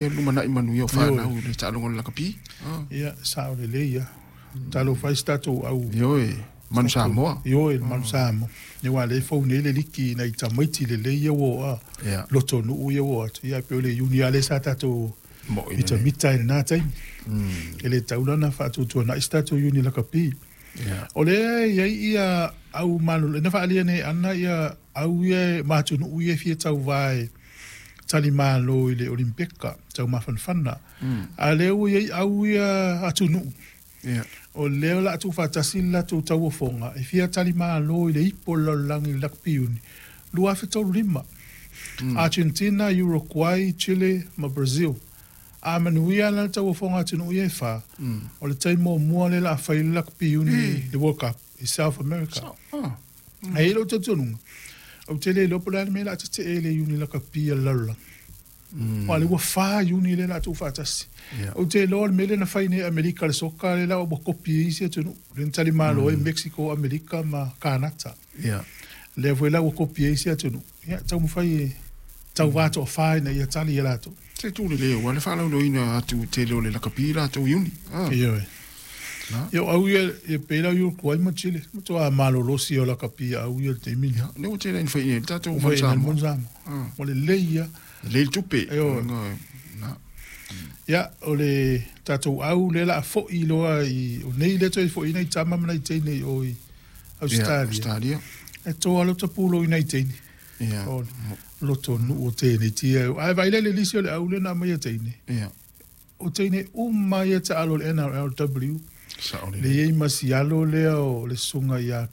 Lumanai manuia o fanau i le taaloga o le lakapi. Ia, sao lelei lava. Talofa e i si tatou au. Ioe, Manu Samoa. Ioe, le Manu Samoa. Ia aua o lea e fou nei le liki i nai tamaiti lelei ia ua oo a. Lotonuu ia ua oo atu. Ia e pei o le Iuni lava lea sa tatou mitamita ai i lena taimi. E le tatau la ona faatuatuanai se tatou Iuni lakapi. O lea e i ai ia au malolo, na faaalia nei e Anna ia au ia ma atunuu ia e fia tauva e talimalo i le Olimipeka taumafanafana. A o lea ua i ai au ia atunuu, o lea o le a tuufaatasi le latou tauofoga e fia talimalo i le ipu o le lalolagi i le Lakapi Iuni 2035. Argentina, Uruguay, Chile ma Brazil. A manuia la le tauofoga a atunuu ia e fa, o le taimi muamua lea o le a fai ai le Lakapi Iuni i le World Cup i South America. Ae i ai lou talitonuga, ou te le iloa po o le a le mea o le a tetee i le Iuni Lakapi a le lalolagi. Aua o lea ua fa Iuni lea o le a tuufaatasi. Ou te iloa o le mea lea na fai nei e Amerika i le soka lea la ua kopi e isi atunuu, lea na talimalo ai Mexico, Amerika ma Kanata. Lea foi la ua kopi e isi atunuu. Ia, taumafai e tauva toafa ina ia tali e latou. Se tu lelei aua le faalauiloaina atu tele o le lakapi latou iuni. Ioe. Ia o au ia, e pei la Uruguay ma Chile, matua malolosi o lakapi a au ia i le taimi lea. Lea ua tele ina fai i le tatou Manu Samoa. Ua lelei ia. Lelei le tupe. Ioe. Ia, o le tatou au lea o le a foi loa i, o nei lea toe foi ai nai tama ma nai teine i o i Ausetalia. E toa lota pulou i nai teine. O loto nuu o teneti ia. Ae vaai la i le lisi o le au lea na aumaia teine. O teine uma ia taalo i le NRLW. Lea e i ai ma si alo lea o le susuga ia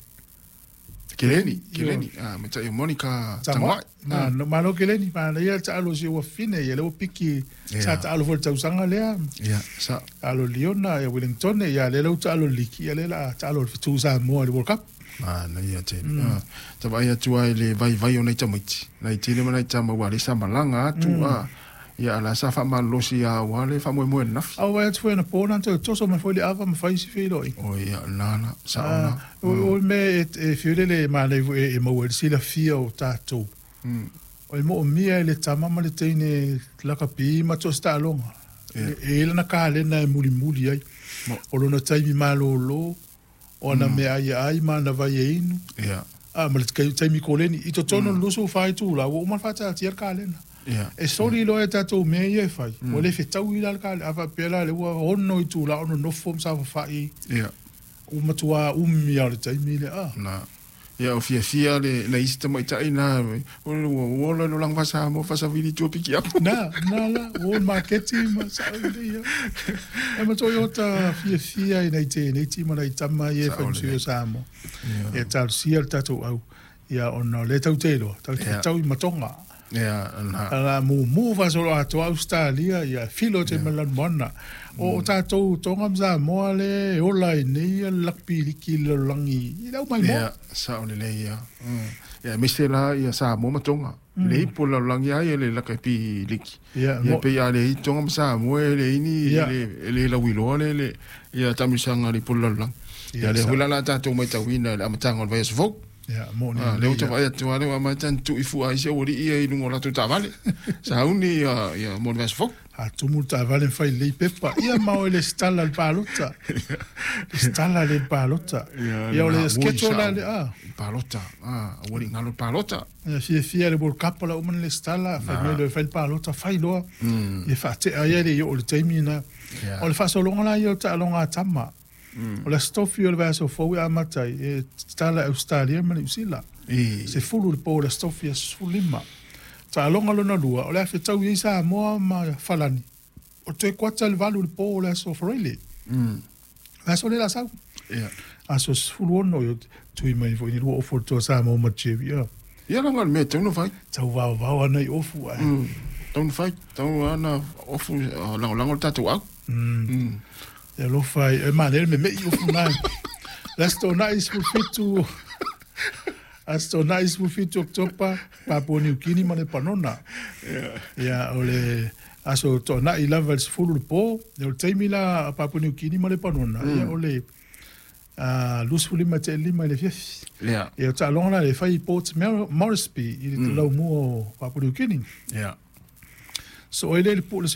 Keleni, Keleni, ah, me tai o Monica Tagoai. Na, no, malo Keleni, manaia le taalo si ou afine ia, lea ua piki, sa taalo foi i le tausaga lea. Ia, sa. Taalo Liona, ia Wellington, ia lea la ua taalo i le liki, ia lea la a taalo i le Fetu Samoa i le World Cup. Manaia tele. Ah, ta vaai atu ai i le vaivai o nai tamaiti, nai teine ma nai tama ua le sa malaga atu, ah, Ia, a la sa faamalolosi ia aua le faamoemoe ananafi. A ua vaai atu foi anapo na toe toso mai foi le ava ma fai isi feiloaiga. Oi, ia, lena la, sao lena. O le mea e fiu lele e manaia foi e maua ai le silafia o tatou, e moomia e le tama ma le teine lakapi ma so o se taaloga. E i ai lana kalena e mulimuli ai. O lona taimi malolo, o ana meaai e ai ma ana vai e inu, a ma le taimi koleni. I totonu o le 24 itula, ua uma ona faataatia le kalena. E soli loa e tatou mea ia e fai, ua le fetaui la le kalena. A faapea la o lea ua 6 itula o nonofo ma saofafai, ua matua umi lava o le taimi lea. Ia o fiafia le nai isi tamaitai na ua ola i lo laga Samoa faasavili i tua piki apu. Na, na la, ua o i le maketi ma sao lelei lava. E matua ota fiafia i nai teineiti ma nai tama ia e fai ma sui o Samoa. Ia talosia le tatou au, ia ona o lea tatou te iloa, tatou te fetaui ma Tonga. Ia, na. A la mumu faasoloatoa Ausetalia, ia filo atu ai ma le lanumoana. O tatou Tonga ma Samoa lea e ola ai nei le lakapi liki i le lalolagi i le au maimoa. Ia, sao lelei ia. Ia, aemaise la ia Samoa ma Tonga. Le ipu o le lalolagi lava ia le lakapi liki. Ia, Ia, pei a leai Tonga ma Samoa e leai ni, e le lauiloa le, ia taamilosaga a le ipu o le lalolagi. Ia, lea foi la o le a tatou matauina i le amataga o le vaiaso fou. Ia, moni Ah, lea ua ta vaai atu lava lea ua amata ona tuu i fua ai si aualii ia i luga o latou taavale. Sauni ia, ia mo le vaiaso fou. A tumu le taavale ma fai lelei pepa. Ia ma o e lesitala i le palota. Lesitala lelei i le palota. Ia, o le schedule la lea. Ah. Palota. Ah, aualii galo i le palota. Ia, fiafia i le World Cup o la ua uma ona lesitala. Fai mai loa e fai le palota, fai loa. Ia faatea ai e le i oo i le taimi lena. O le faasologa la ia o taaloga a tama. O le Aso Tofi o le vaiaso fou e amata ai, e tatala e Ausetalia ma Niu Sila. 10 i le po o le Aso Tofi aso 15. Taaloga lona lua, o le a fetaui ai Samoa ma Falani, o le toe kuata i le 8 i le po o le aso Faraile. Vaiaso lea o le a sau. Aso 16, tui mai foi ni lua ofu o le toa Samoa ma Jerry. Ia leaga o le mea e tatau ona fai. Tau vaovao ana i ofu ae. Tatau ona fai, tatau ona ofu lagolago le tatou au. E alofa ai, e manaia le meme'i ofu na. Le Aso Toonai 17, Aso Toonai 17 Oketopa, Papua Niu Kini ma Lepanona. Ia, o le Aso Toonai lava i le 10 i le po, ia o le taimi la a Papua Niu Kini ma Lepanona, ia o le 25:05 i le afiafi. Ia, o taaloga la e fai i Port Moresby i le laumua o Papua Niu Kini. Soo ai lea i le pue o le